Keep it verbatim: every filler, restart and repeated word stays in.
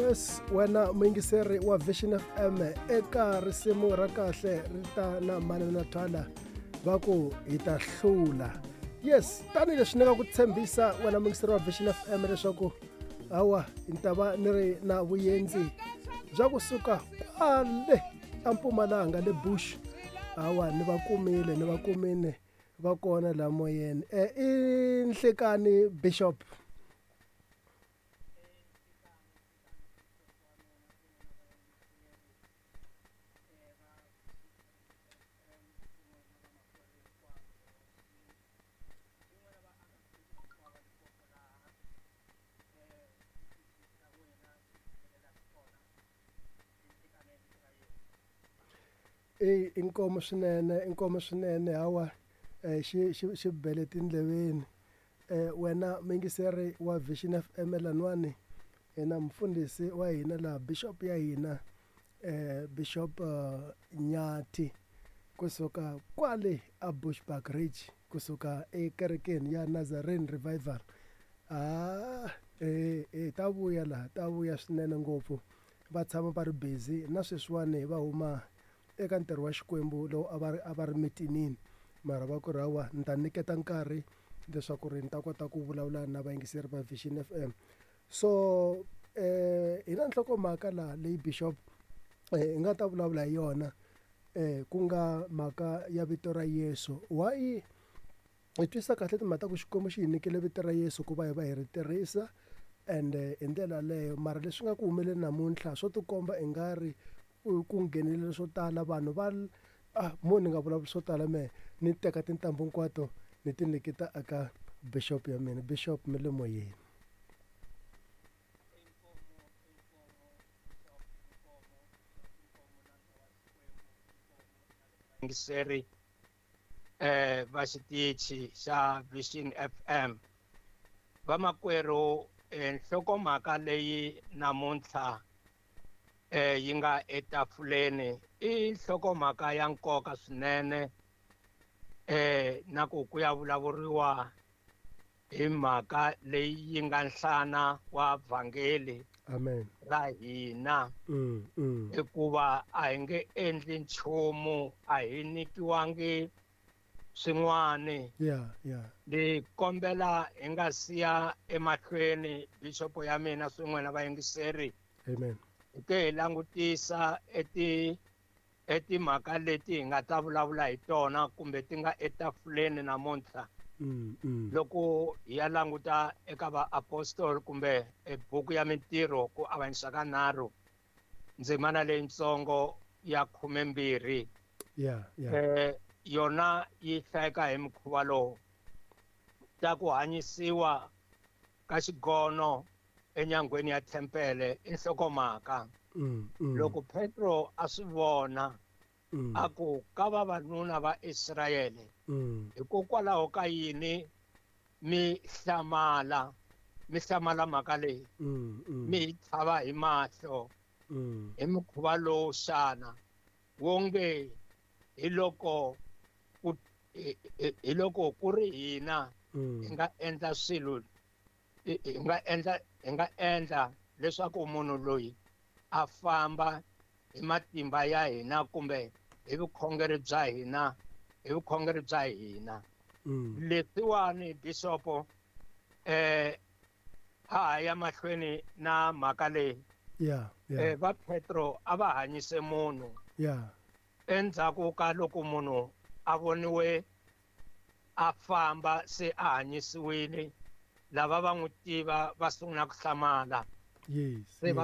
Yes, wena muyingiseri wa Vision F M eka risimu ra kahle ri ta na Manana Twala va ku hi ta hlula. Yes, tanihileswi ni nga ku tshembisa wena muyingiseri wa Vision F M leswaku hawa ni ta va ni ri na vuyendzi bya kusuka kwale eMpumalanga le Bush. Hawa ni va kumile ni va kumile va kona la moyeni. Eh, i Nhlekani Bishop. E inkomo swinene inkomo swinene hawa xi xi xi bele tindleveni. Eh wena muyingiseri wa Vision F M lanwani na mfundhisi wa hina la bishop ya hina eh Bishop uh, Nyathi kusuka kwale a Bushbuck Ridge kusuka ekerekeni ya Nazarene Revival. Ah eh eh ta vuya la ta vuya swinene ngopfu va tshama va ri busy na sweswiwani va huma eka ntirho wa Xikwembu lowu a va ri a va ri mitinini mara va ku ri hawa ni ta nyiketa nkarhi leswaku ri ni ta kota ku vulavula na vayingiseri va Vision F M. So eh hi na nhlokomhaka laha leyi Bishop eh hi nga ta vulavula hi yona eh ku nga mhaka ya vito ra Yesu. Why hi twisisa kahle timhaka ta ku Xikwembu xi hi nyikile vito ra Yesu ku va hi va hi ri tirhisa and hi ndlela yaleyo mara leswi nga ku humeleni namuntlha swo tikomba i nga ri ku nghenelela swo tala vanhu va ah mo ni nga vulavuli swo tala mehe ni teka tintambu hinkwato ni ti nyiketa eka bishop ya mina. Bishop mi le moyeni. Yingiseri eh va xitichi xa Vision F M vamakwerhu nhlokomhaka leyi namuntlha eh yi nga etafuleni i nhlokomhaka ya nkoka swinene eh na ku ku ya vulavuriwa hi mhaka leyi yi nga nhlana wa vhangeli. Amen. Ra hina. Mm, mm. Hikuva a hi nge endli nchumu a hi nyikiwangi swin'wani. Yeah, yeah. Ni kombela hi nga siya emahlweni bishop ya mina swin'we na vayingiseri. Amen. Hi ke hi langutisa eti etimhaka leti hi nga ta vulavula hi tona kumbe ti nga etafuleni namuntlha. Mm, mm. Loko hi ya languta eka vaapostoli kumbe ebuku ya Mintirho ku avanyisa ka nharhu ndzimana leyitsongo ya khumembirhi. Yeah, yeah. Eh yona yi hlayeka hi mukhuva lowu ta ku hanyisiwa ka xigono enyangweni ya tempele i nhlokomhaka. Mm, mm. Loko Petro a swi vona mm. a ku ka vavanuna va Israyele mm. hikokwalaho ka yini mi hlamala mi hlamala mhaka leyi mm, mm. mi hi tlhava hi mahlo mm. hi mukhuva lowu xana wonge hi loko ku hi loko ku ri hina hi nga endla swilo hi nga endla hi nga endla leswaku munhu loyi a famba hi matimba ya hina kumbe hi vukhongeri bya hina hi vukhongeri bya hina. Leswiwani bishop eh a ha ya mahlweni na mhaka leyi. Yeah, yeah. Eh va Petro a va hanyise munhu. Yeah. Endzhaku ka loko munhu a voniwe a famba se a hanyisiwile lava va n'wi tiva va sungula ku hlamala. Yes. Se va